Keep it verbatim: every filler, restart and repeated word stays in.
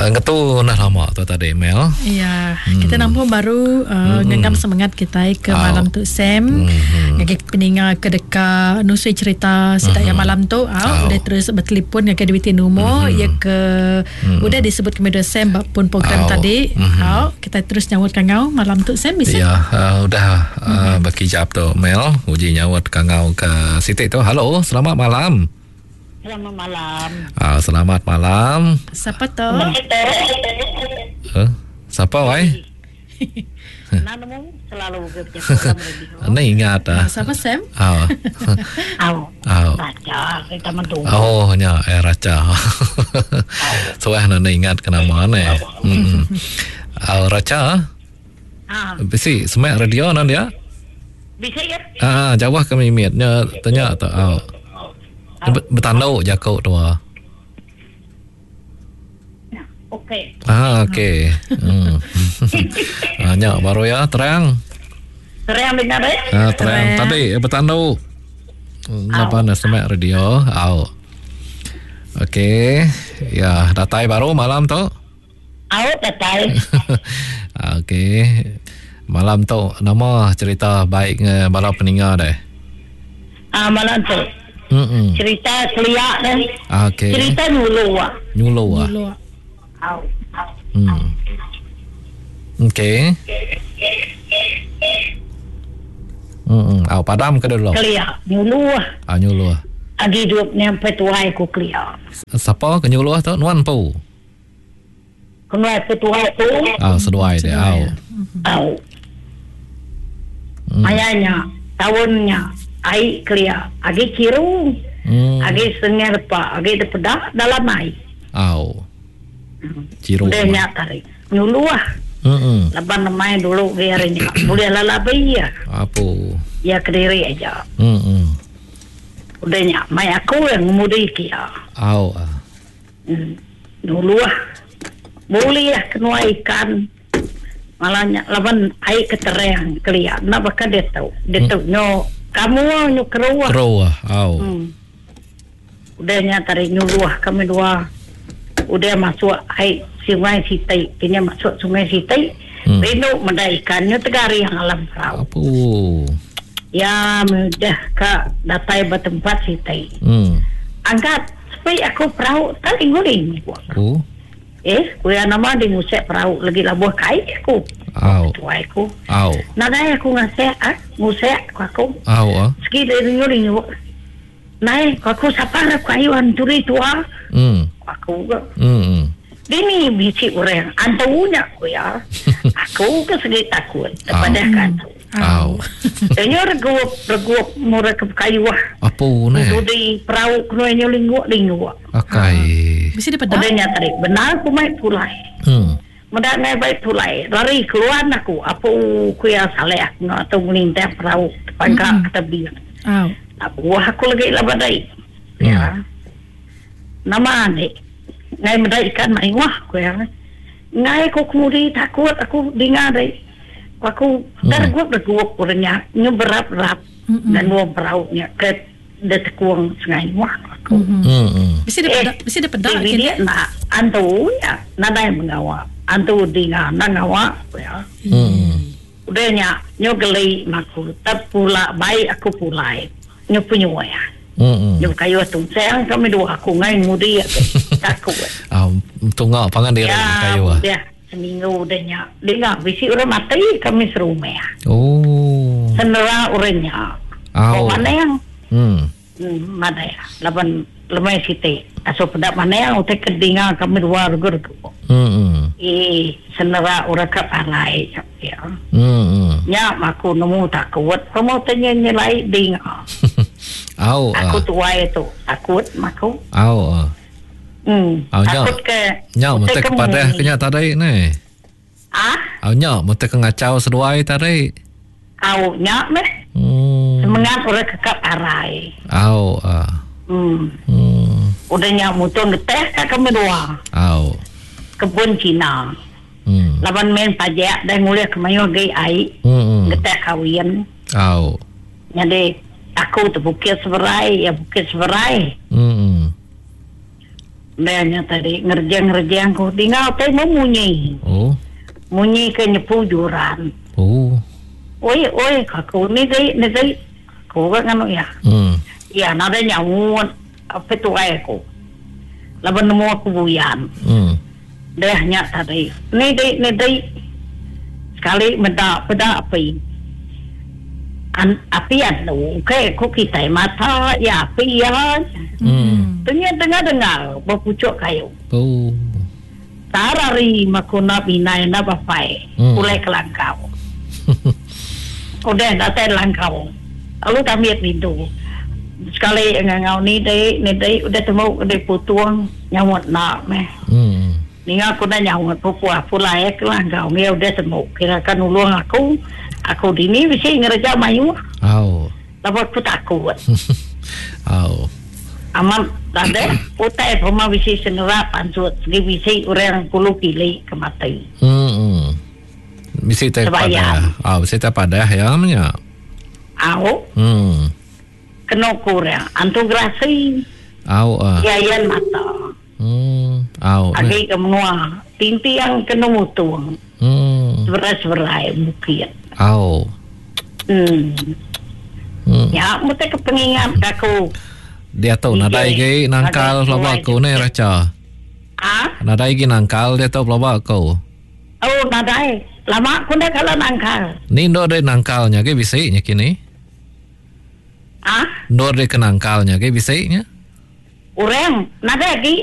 Ngetu nah lama tu tadi Mel. Ya, hmm. Kita nampung baru uh, hmm. ngenggam semangat kita ke oh. malam tu Sam. Hmm. Ngagi peninga ke deka nusui cerita sida hmm. yang malam tu au oh. udah terus bertelefon ngagai duit nombor hmm. ya ke hmm. udah disebut ke media Sam bab pun program oh. tadi. Hmm. Au kita terus nyawut kangau malam tu Sam bisa. Ya, uh, udah uh, hmm. berkijap tu Mel, uji nyawut kangau ke Siti tu. Halo, selamat malam. Selamat malam. Ah, selamat malam. Siapa tu? Huh? Siapa wai? Nanamu selalu ke Ni ingat ah. Siapa Sam? Ah. Au. Au. Raja kita mentu. Oh, nya eh raja. Suah nak ingat ke nama ni. Hmm. Ah, raja. Ah. Bisi semak radio nan dia? Bisa ya? Ah, jauh ke mimit nya tanya tu. Ah. Bertanduk jakuk tua. Okey. Ah, okey. Hmm. Ah, nyak baru ya terang. Terang dengar eh? Ah, terang. Tadi bertanduk. Napa nak semak radio? Au. Okey. Ya, datai baru malam tu. Au, datai. Okey. Malam tu nama cerita baik nge bala peninga deh. Ah, malam tu. Mm-mm. Cerita keliak deh. Okey. Cerita nyulu ah. Nyulu ah. Au. Hmm. Okey. Hmm, au padam ke dulu. Keliak nyulu ah. Ah, nyulu ah. Agi hidup nyampe tuai ku keliak. Siapa ke nyulu ah tu? Nuan pu. Kenuai pe tuai tu. Ah, seduai dia. Au. Au. Hmm. Ayahnya tahunnya ai keliak agi kiru. Hmm. Agi sengih lepak, agi depedak dalam ai. Au. Ciru. Udah nyak tarik. Nyulu ah. Hmm. Laban main dulu ke hari ni. Boleh lalabi ya. Apa? Ya kediri aja. Hmm. Udah nyak mai aku yang ngemudi kia. Au. Hmm. Nyulu ah. Boleh lah kena ikan. Malahnya laban ai keterang keliak. Nak bakal dia tahu. Dia tahu nyo kamu nyo keruah. Keruah. Au. Hmm. Udah nyak tarik nyulu ah kami dua. Udah masuk air sungai Sitai, kini masuk sungai Sitai, hmm. rindu menda ikannya tegari yang alam perahu. Apa? Ya, mudah ke datai bertempat Sitai. Hmm. Angkat, sepi aku perahu tak guling. Oh. Eh, kuya nama di musik perahu lagi labuh kai aku. Au. Tuai aku. Au. Nadai aku ngasek ah, musik aku aku. Au ah. Segi rindu Nai, aku sapa aku ayuan curi tua. Hmm. Aku ke. Hmm. Dini bisi orang antunya aku ya. Aku ke segi takut kepada kan. Au. Tanya regup regup murah ke kayu ah. Apa ni? Di perahu kena nyolingu lingu. Akai. Bisi depedak. Udah nyata benar aku mai pulai. Hmm. Mendak ngai baik pulai. Lari keluar aku. Apa ku ya saleh aku nak atau melintang perahu pangkak ke tebi. Au. Aku aku lagi lah badai. Ya. Nama ni. Ngai medai ikan mai wah ku ya. Ngai ku kemudi takut aku dengar dai. Aku tergup tergup orangnya nyeberap-rap dan dua perahunya ke detekuang sungai wah aku. Hmm. Bisi depedak, bisi depedak kini. Nak antu ya, nadai mengawa. Antu dengar nangawa ya. Hmm. Udahnya nyogeli maku tep pula baik aku pulai. Nyo punya ya. Hmm. Nyo kayu tungseng kami dua aku ngai mudi aku takut. Ah, tunggu pangan diri kayu ah. Ya, seminggu udahnya. Dengar bisi orang mati kami serumah. Oh. Senera orangnya. Oh. Mana yang? Hmm. Hmm, mana ya? Laban lemai siti. Aso pedak mana yang utai kedengar kami dua regur. Hmm. Eh, senera orang ke palai ya. Hmm. Nya aku nemu takut. Kamu tanya nyelai dengar. Au. Aku tuai tu takut maku. Au. Hmm. Au, takut ke. Nya mesti kepada kenya tadi ni. Ah? Au nya mesti ke ngacau seduai tadi. Au nya meh. Hmm. Semangat orang kekap arai. Au. Ah. Hmm. Hmm. Udah nya mutung geteh ka kami dua. Au. Kebun Cina. Hmm. Laban main pajak dan nguliah kemayu gai ai. Hmm. Geteh kawin. Au. Jadi aku tu bukit seberai, ya bukit seberai. Hmm. Nya tadi ngerjang-ngerjang ku tinggal tai munyi. Oh. Munyi ke nyepu juran. Oh. Oi oi aku ni dei ni dei. Aku kan nganu ya. Hmm. Ya nada nyaut apa tuai aku. Laban nemu aku buyan. Hmm. Dah nya tadi. Ni dei ni dei. Sekali meda peda api. An, api anu ke ku kita mata ya api ya. Hmm. Tengah dengar dengar berpucuk kayu. Oh. Tarari makuna binai na bapai. Hmm. Ulai kelangkau. Udah datai langkau. Lalu kami pintu. Sekali ngangau ni dei ni dei udah temu udah putuang nyawat nak meh. Hmm. Ninga aku dah nyawat pupuah pulai ke langkau. Ngia udah temu. Kira kan ulung aku. Aku dini mesti ngerja mayu. Au. Lalu aku takut. Au. Aman tade utai pema bisi senera pansut segi bisi orang kulu kili ke mati. Hmm. Bisi tak Sebayang. padah. Ah, bisi tak padah ya nya. Au Hmm. kena kurang antu grasi Au ah. yayan mata. Hmm. Au. Agi ke menua tinti yang kena mutung Hmm. seberai-seberai bukit. Au. Hmm. Hmm. Ya, mesti ke pengingat aku. Dia tu nadai gi nangkal Nadai pelaba aku ni raca. Ah, Nadai gi nangkal dia tu pelaba aku. oh nadai. Lama aku dah kalau nangkal. Ni ndor dia nangkalnya ke bisi nya kini. Ah, Ndor dia ke nangkalnya ke bisi nya. orang nadai lagi